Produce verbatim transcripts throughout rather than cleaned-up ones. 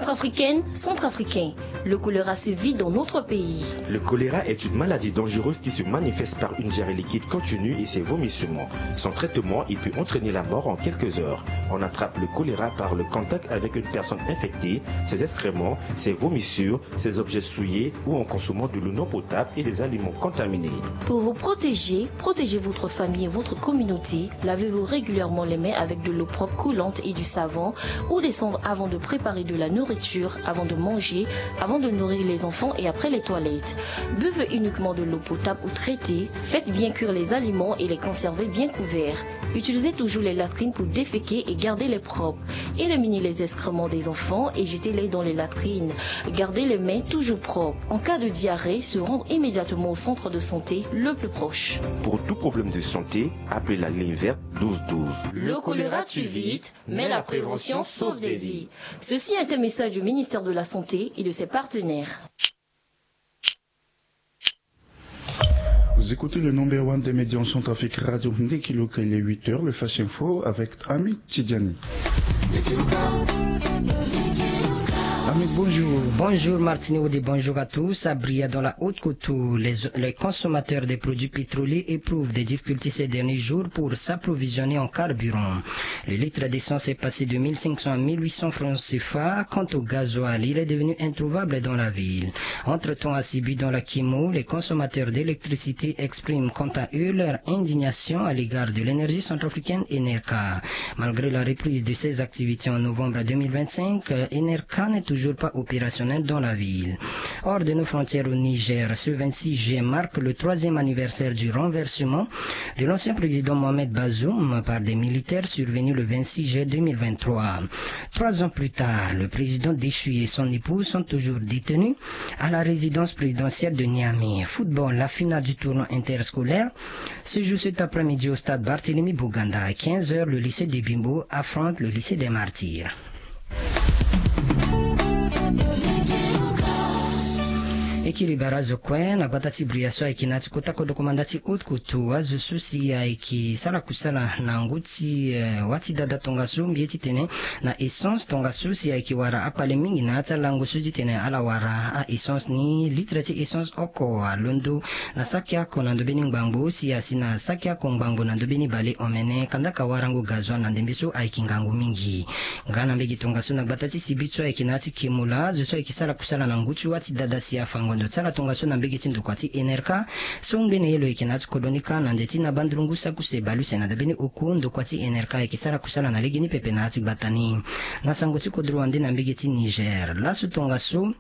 Centrafricaine, centrafricain, le choléra sévit dans notre pays. Le choléra est une maladie dangereuse qui se manifeste par une diarrhée liquide continue et ses vomissements. Son traitement, il peut entraîner la mort en quelques heures. On attrape le choléra par le contact avec une personne infectée, ses excréments, ses vomissures, ses objets souillés ou en consommant de l'eau non potable et des aliments contaminés. Pour vous protéger, protégez votre famille et votre communauté. Lavez-vous régulièrement les mains avec de l'eau propre coulante et du savon ou des cendres avant de préparer de la nourriture, avant de manger, avant de nourrir les enfants et après les toilettes. Buvez uniquement de l'eau potable ou traitée. Faites bien cuire les aliments et les conservez bien couverts. Utilisez toujours les latrines pour déféquer et garder les propres. Éliminez les excréments des enfants et jetez-les dans les latrines. Gardez les mains toujours propres. En cas de diarrhée, se rendre immédiatement au centre de santé le plus proche. Pour tout problème de santé, appelez la ligne verte douze douze. Le choléra tue vite, mais la prévention sauve des vies. Ceci est un message du ministère de la Santé et de ses partenaires. Vous écoutez le number one des médias en Centrafrique, Radio Ndekiloka, il est huit heures, le Flash Info avec Ahmed Tidiani. Ahmed, bonjour. Bonjour Martine Woodé, bonjour à tous. Abria dans la Haute-Koutou, les, les consommateurs des produits pétroliers éprouvent des difficultés ces derniers jours pour s'approvisionner en carburant. Le litre d'essence est passé de mille cinq cents à mille huit cents francs C F A. Quant au gasoil, il est devenu introuvable dans la ville. Entre-temps, à Sibi, dans la Kimo, les consommateurs d'électricité expriment quant à eux leur indignation à l'égard de l'énergie centrafricaine Enerca. Malgré la reprise de ses activités en novembre deux mille vingt-cinq, euh, Enerca n'est toujours pas opérationnel dans la ville. Hors de nos frontières au Niger, ce vingt-six juillet marque le troisième anniversaire du renversement de l'ancien président Mohamed Bazoum par des militaires survenu le vingt-six juillet deux mille vingt-trois. Trois ans plus tard, le président déchu et son épouse sont toujours détenus à la résidence présidentielle de Niamey. Football, la finale du tournoi interscolaire se joue cet après-midi au stade Barthélemy Boganda. À quinze heures, le lycée de Bimbo affronte le lycée des Martyrs. E kiri bara azo kue na gbata ti bria so ayeke na ya ti kota kodro komanda ti Haute-Koutou. Azo so si ayeke sara kusala na ngu ti, eh, wâ ti dada tongaso mbi ye titene na essence tongaso si ayeke wara akpale mingi na ya ti alango so titene ala wara a-essence ni. Litre ti essence oko alondo na saki oko na ndö mbeni ngbangbo si asi na saki oko ngbangbo na ndö mbeni bale omene kandaka warango gasoil na ndembe so ayeke ngangu mingi. Nga na mbege tongaso na gbata ti Sibi so ayeke na ya ti Kemola, azo so ayeke sara kusala na ngu ti wâ ti dada si afa ngondo ti ala tongaso na mbege ti ndokua ti Enerca so ngbene ye lo yeke na ya ti kodro ni kâ na nze ti na bandurungu saki use bale use na ndö mbeni oku ndokua ti Enerca ayeke sara kusala na legeni pepe na ya ti gbata ni. Na sango ti kodro wande na mbege ti Niger, laso tongaso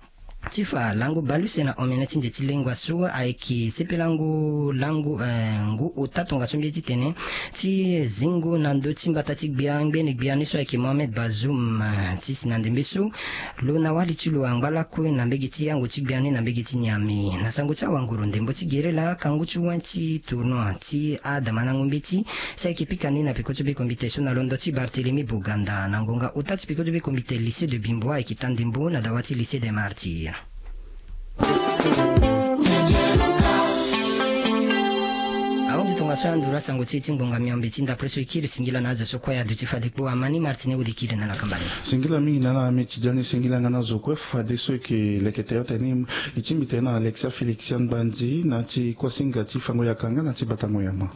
ti fa lango bale use na omene ti nze ti lengua so ayeke sepelango lango, eh, ngu ota tongaso mbi ye titene ti zingo na ndö ti mbata ti gbia ngbene gbia ni so ayeke Mohamed Bazoum, eh, ti si na ndembe so lo na wali ti lo angba lakue na mbege ti yango ti gbia ni na mbege ti Niamey. Na sango ti awanguru ndembo ti gere laa kangu ti wen ti tournoi ti adamanango mbeti si ayeke pika ni na peko ti be kombite so na londo ti Barthélemy Boganda na ngonga ota ti peko ti be kombite lycée de Bimbo ayeke ta ndembo na dawa ti lycée des Martyrs. Ahunzi tongaso ya nduru asango ti e ti ngbonga miombe ti ndapre so e kiri singila na azo so kue aduti fade kpo. Amani Martine Wodi kiri na lakamba ni. Singila mingi na ala Ahmed Tidiane, singila nga na azo kue fadeso e yeke lekete ota ni. E tingbi tene na Alexia Félixia Mbanzi na ti kuasinga ti fango yaka nga na ti batango yama.